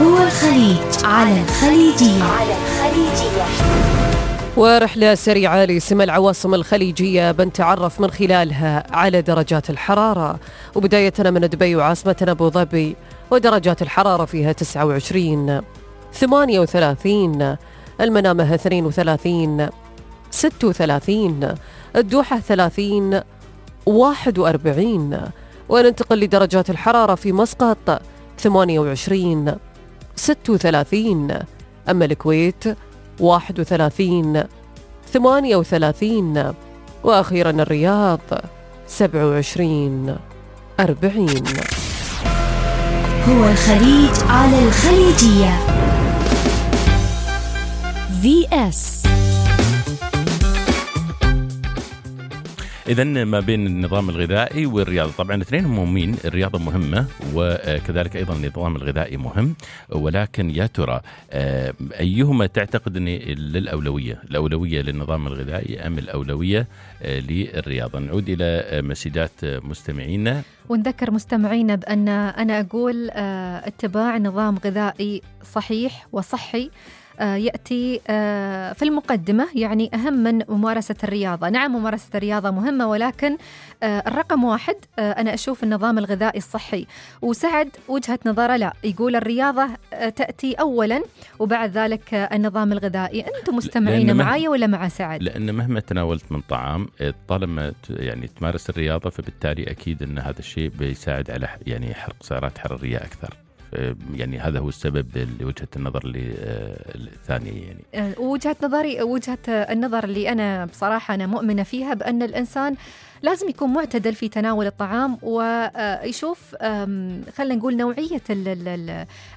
هو الخليج على الخليجية. ورحلة سريعة لسمى العواصم الخليجية بنتعرف من خلالها على درجات الحرارة، وبداية من دبي وعاصمتنا أبو ظبي، ودرجات الحرارة فيها 29 38، المنامة 32 36، الدوحة 30 41، وننتقل لدرجات الحرارة في مسقط 28 36، أما الكويت 31 38، وأخيرا الرياض 27 40. هو الخليج على الخليجية. VS. إذن ما بين النظام الغذائي والرياضة، طبعا الاثنين مهمين، الرياضة مهمة وكذلك أيضا النظام الغذائي مهم، ولكن يا ترى أيهما تعتقد أن الأولوية للنظام الغذائي أم الأولوية للرياضة؟ نعود إلى مسجات مستمعينا ونذكر مستمعينا بأن أنا أقول اتباع نظام غذائي صحيح وصحي يأتي في المقدمة، يعني أهم من ممارسة الرياضة. نعم ممارسة الرياضة مهمة، ولكن الرقم واحد أنا أشوف النظام الغذائي الصحي. وسعد وجهة نظره لا، يقول الرياضة تأتي أولا وبعد ذلك النظام الغذائي. أنتم مستمعين معايا ولا مع سعد؟ لأن مهما تناولت من طعام طالما يعني تمارس الرياضة، فبالتالي أكيد أن هذا الشيء بيساعد على يعني حرق سعرات حرارية أكثر. يعني هذا هو السبب لوجهة النظر الثانية. يعني وجهة النظر اللي أنا بصراحة أنا مؤمنة فيها، بأن الإنسان لازم يكون معتدل في تناول الطعام، ويشوف خلينا نقول نوعية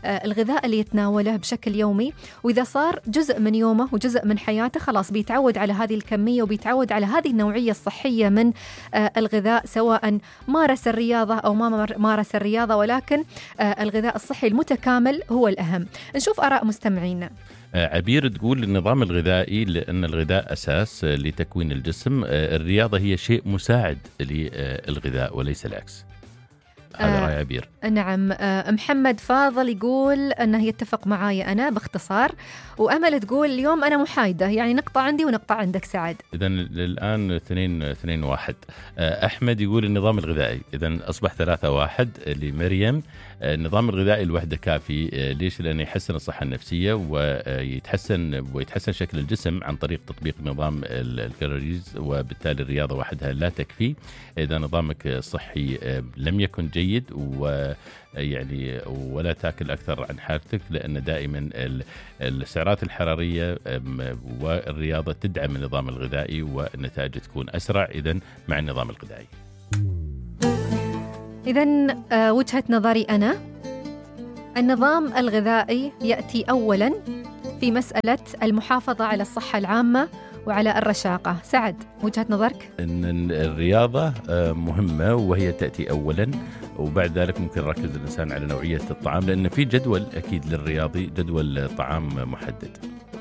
الغذاء اللي يتناوله بشكل يومي، وإذا صار جزء من يومه وجزء من حياته خلاص بيتعود على هذه الكمية وبيتعود على هذه النوعية الصحية من الغذاء، سواء مارس الرياضة أو ما مارس الرياضة، ولكن الغذاء الصحي المتكامل هو الأهم. نشوف آراء مستمعينا. عبير تقول النظام الغذائي لأن الغذاء أساس لتكوين الجسم، الرياضة هي شيء مساعد للغذاء وليس العكس. هذا رأي عبير. نعم. محمد فاضل يقول أنه يتفق معاي أنا باختصار، وأمل تقول اليوم أنا محايدة، يعني نقطة عندي ونقطة عندك سعد. إذن الآن 2-1. أحمد يقول النظام الغذائي، إذن أصبح 3-1 لمريم. النظام الغذائي الوحدة كافي. ليش؟ لأنه يحسن الصحة النفسية ويتحسن شكل الجسم عن طريق تطبيق نظام الكالوريز، وبالتالي الرياضة وحدها لا تكفي إذا نظامك الصحي لم يكن جيد، ويعني ولا تأكل أكثر عن حاجتك، لأن دائما السعرات الحرارية والرياضة تدعم النظام الغذائي والنتائج تكون أسرع إذن مع النظام الغذائي. إذن وجهة نظري أنا، النظام الغذائي يأتي أولا في مسألة المحافظة على الصحة العامة وعلى الرشاقة. سعد وجهة نظرك؟ أن الرياضة مهمة وهي تأتي أولا، وبعد ذلك ممكن يركز الإنسان على نوعية الطعام، لأن في جدول أكيد للرياضي، جدول طعام محدد.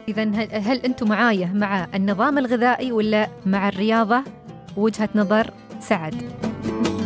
إذن هل أنتم معايا مع النظام الغذائي ولا مع الرياضة؟ وجهة نظر سعد.